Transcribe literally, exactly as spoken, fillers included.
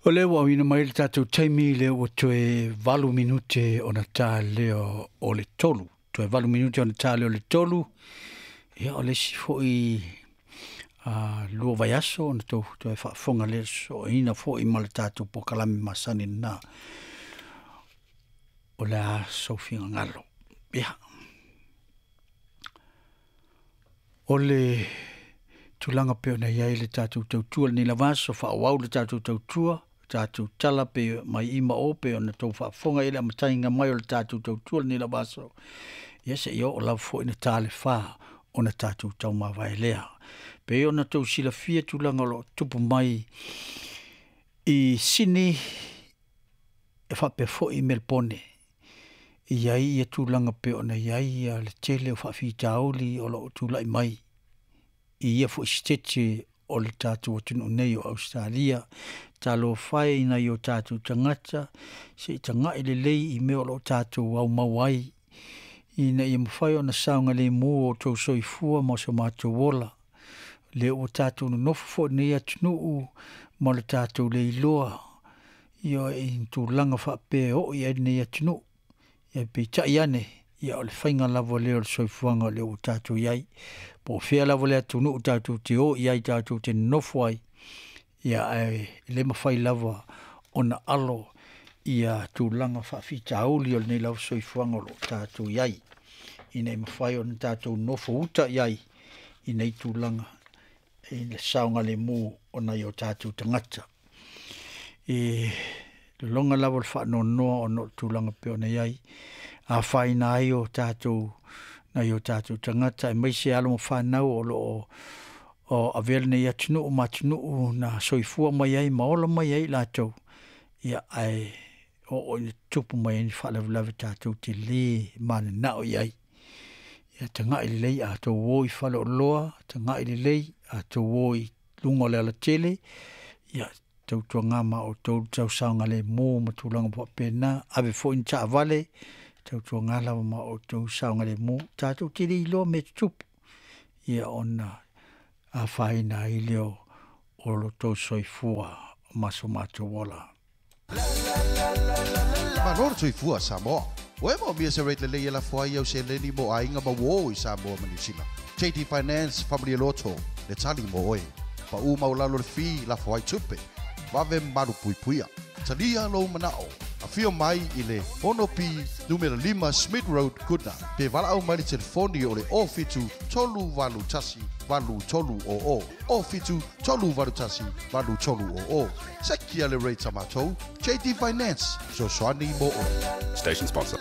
O lea ua auina mai le tatou taimi lea ua toe valu minute ona ta lea o le tolu. Toe valu minute ona ta lea o le tolu. Ia o le isi foi uh, lua vaiaso ona tou toe faafofoga lea soaina foi ma le tatou pokalame masani lena o le a sofiagalo. Ia. O le tulaga pei ona i ai le tatou tautua lenei lava aso, faaauau le tatou tautua, tatou tala pe mai i ma o pe ona tou faafofoga i le amataga mai o le tatou tautua lenei lava aso. Ia seia oo lava foi ina ta le fa ona tatou taumavae lea. Pei ona tou silafia tulaga o loo tupu mai i Sini e faapea foi i Melpone. E i ai ia tulaga pei ona i ai ia le tele o faafitauli o loo tulai mai i ia foi sitete o le tatou atunuu nei o Ausetalia. Talofa e i nai o tatou tagata, se i tagai lelei i mea o loo tatou aumau ai, ina ia mafai ona saogalemu o outou soifua ma so matou ola. Lea ua tatou nonofo foi i lenei atunuu ma le tatou le iloa ia i tulaga faapea e oo i ai lenei atunuu. Ia peitai ane, ia o le faiga lava lea o le soifuaga o lea ua tatou i ai. Po o fea lava le atunuu tatou te o i ai tatou te nonofo ai, ia ae le mafai lava ona alo ia tulaga faafitauli o lenei lava soifuaga o lo o tatou i ai, ina ia mafai ona tatou nofo uta i ai i nei tulaga i le saogalemu o nai o tatou tagata. E lologa lava le faanoanoa ona o le tulaga pei ona i ai, afaina ai o tatou nai o tatou tagata aemaise alo ma fanau o loo o avea lenei atunuu ma atunuu na soifua mai ai ma ola mai ai i latou, ia ae oo ina tutupu mai ai ni faalavelave tatou te le mananao i ai. Ia tagai lelei a outou o i faleoloa, tagai lelei a outou o i luga o le alatele, ia tautuana ma outou le tau saogalemu ma tulaga faapena. Ave foi ni taavale, tautuana lava ma outou saogalemu, tatou te le iloa mea e tutupu, ia ona afaina ai lea o lo outou soifua ma so matou ola. Malo le soifua Samoa. Ua e maomia se rate lelei e lafo ai au seleni mo aiga ma uō i Samoa ma Niu Sila. J D Finance Family Loto, le tali mo oe. Pau maulalo le fee lafo ai tupe. Vave malu puipuia. Talia lou manao. Afio mai i le ono P numera lima Smith Road, Goodna. Pe valaau mai le telefoni o le o fitu tolu valu tasi valu tolu o o. O fitu tolu valu tasi valu tolu o o. Sekia le rate a matou. J D Finance. Sosoani mo oe. Station sponsor.